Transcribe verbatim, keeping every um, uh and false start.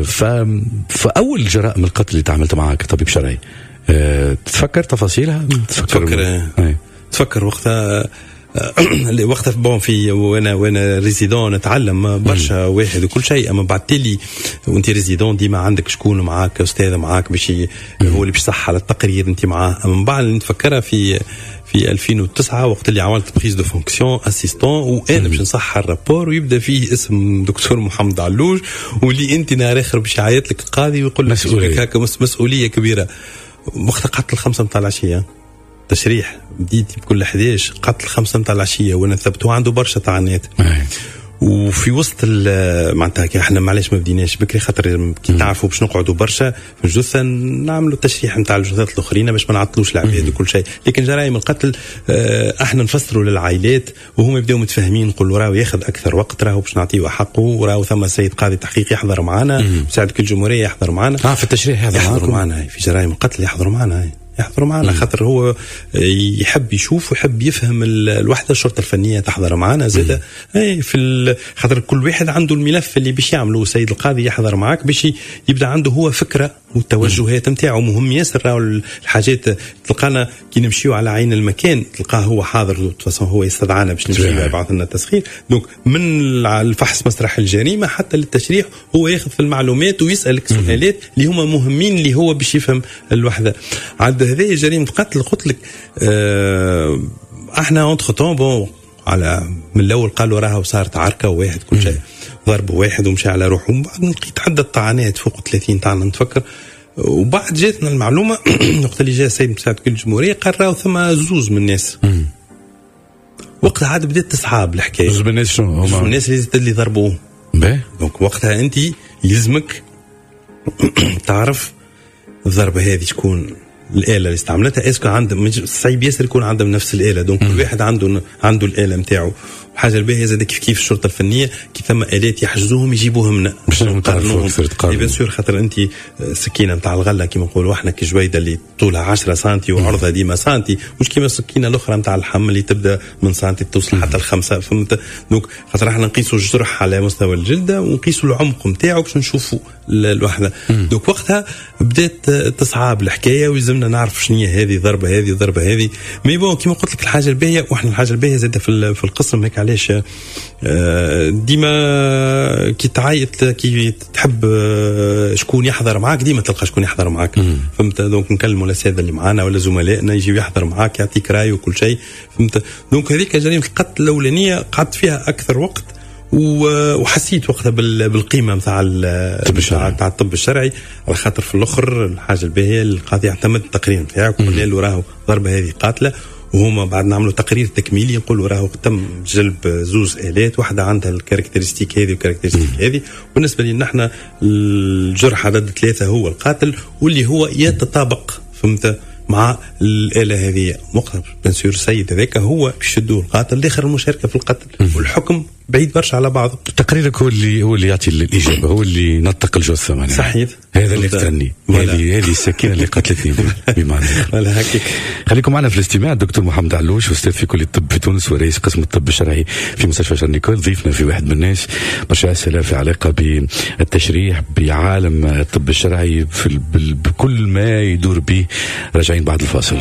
ف فاول جرائم القتل اللي تعاملت معها كطبيب شرعي، أه تتفكر تفاصيلها؟ تفكر تفكر وقتها وقتها bon في وانا وانا résident نتعلم برشا واحد وكل شيء، اما بعد تالي وانت résident ديما عندك شكون معاك، استاذ معاك باش هو اللي باش يصح على التقرير انت معاه. اما من بعد نتفكرها في في ألفين وتسعة وقت اللي عملت prise de fonction assistant، وانا باش نصحح ال rapport ويبدا فيه اسم دكتور محمد علوش، واللي انت نهار اخر باش يعيط لك القاضي ويقول لك مسؤولية. هكا مسؤولية كبيره. وقتها قعدت الخمسة نتاع العشيه، تشريح بديت بكل حداش، قعدت الخمسة نتاع العشية وانا ثبت عنده برشا طعنات. وفي وسط معناتها احنا معليش ما بديناش بكري، خاطر كي تعرفوا باش نقعدوا برشا في الجثة نعملوا التشريح نتاع الجثث الاخرين باش ما نعطلوش العباد وكل شيء. لكن جرائم القتل اه احنا نفسروا للعائلات وهم يبداو متفاهمين، نقولوا راهو ياخذ اكثر وقت، راهو باش نعطيه حقه، وراهو ثم سيد قاضي تحقيق يحضر معنا، مساعد وكيل الجمهورية يحضر معنا. اه، في التشريح يحضر يحضروا معنا في جرائم القتل، يحضروا معنا يحضروا معنا خاطر هو يحب يشوف ويحب يفهم الوحده. الشرطة الفنية تحضر معنا زاد اي في خاطر كل واحد عنده الملف اللي باش يعمله، السيد القاضي يحضر معك باش يبدا عنده هو فكرة والتوجهات نتاعو. مهم ياسر راهو الحاجات، تلقانا كي نمشيو على عين المكان تلقاه هو حاضر، هو يستدعانا باش نمشيو، يبعث لنا التسخير. donc من الفحص مسرح الجريمة حتى للتشريح هو ياخذ في المعلومات ويسالك سؤالات اللي هما مهمين اللي هو باش يفهم الوحده. عاد هذه جريمة قتل قلت لك اه احنا entre-temps bon على من الاول قالوا راهو صارت عركة وواحد كل شيء ضرب واحد ومشى على روحه، ومن بعد لقيت عدة طعنات فوق ثلاثين طعنه نتفكر. وبعد جاتنا المعلومة وقت اللي جاء السيد مساعد وكيل الجمهوريه، قال راهو ثم زوز من الناس. وقتها عاد بدات تصعب الحكايه. زوز من الناس شنو؟ زوز من الناس اللي اللي ضربوه. donc وقتها انت يلزمك تعرف الضربة هذه شكون الاله اللي استعملتها، est-ce que عندهم، صعيب ياسر يكون عندهم نفس الاله، donc كل واحد عنده عنده الاله نتاعو. الحاجة الباهيه زاد كيف كيف الشرطة الفنية كي ثم الات يحجزوهم يجيبوهم لنا باش نقارنوهم. bien sûr، خاطر انت السكينة نتاع الغلة كيما نقولوا احنا كجويده اللي طولها عشرة سنتي وعرضها ديما سنتي، مش كيما السكينة الاخرى نتاع اللحم اللي تبدا من سنتي توصل حتى الخمسه، فهمت؟ donc خاطر احنا نقيسوا الجرح على مستوى الجلدة ونقيسوا العمق نتاعو باش نشوفوا الوحده. donc وقتها بدات تصعب الحكاية ويلزمنا نعرف شنو هي هذه ضربه هذه ضربه هذه. mais bon كيما قلت لك الحاجة الباهيه، واحنا الحاجة الباهيه زاده في في القسم هيك علاش آه، ديما كي تعيط كي تحب آه، شكون يحضر معاك ديما تلقى شكون يحضر معاك، فهمت؟ donc نكلموا الاساتذة اللي معانا ولا زملائنا يجيو يحضر معاك، يعطيك راي وكل شيء، فهمت؟ donc هذيك جريمة القتل الاولانية قعدت فيها اكثر وقت وحسيت وقتها بالقيمة نتاع نتاع الطب الشرعي، على خاطر في الاخر الحاجة الباهيه القاضي يعتمد التقرير نتاعك، وقلنا له راهو الضربة هذه قاتله، وهما بعد نعملوا تقرير تكميلي نقولوا راهو تم جلب زوز الات، واحدة عندها ال caractéristiques هذه وال caractéristiques هذه، بالنسبة لنا احنا الجرح عدد ثلاثة هو القاتل واللي هو يتطابق، فهمت، مع الاله هذه. وقتها bien sûr السيد هذاك هو يشدوه القاتل، الاخر المشاركة في القتل، والحكم بعيد برشا على بعضه. تقريرك هو اللي هو اللي يعطي الاجابه، هو اللي نطق الجثة معناها. صحيح. هذا اللي قتلني، هذه هذه السكينة اللي قتلتني بمعنى. voilà هكاك. خليكم معنا في الاستماع. الدكتور محمد علوش، استاذ في كليه الطب في تونس ورئيس قسم الطب الشرعي في مستشفى شارل نيكول، ضيفنا في واحد من الناس. برشا اسئلة في علاقة بالتشريح، بعالم الطب الشرعي، في بكل ما يدور به. راجعين بعد الفاصل.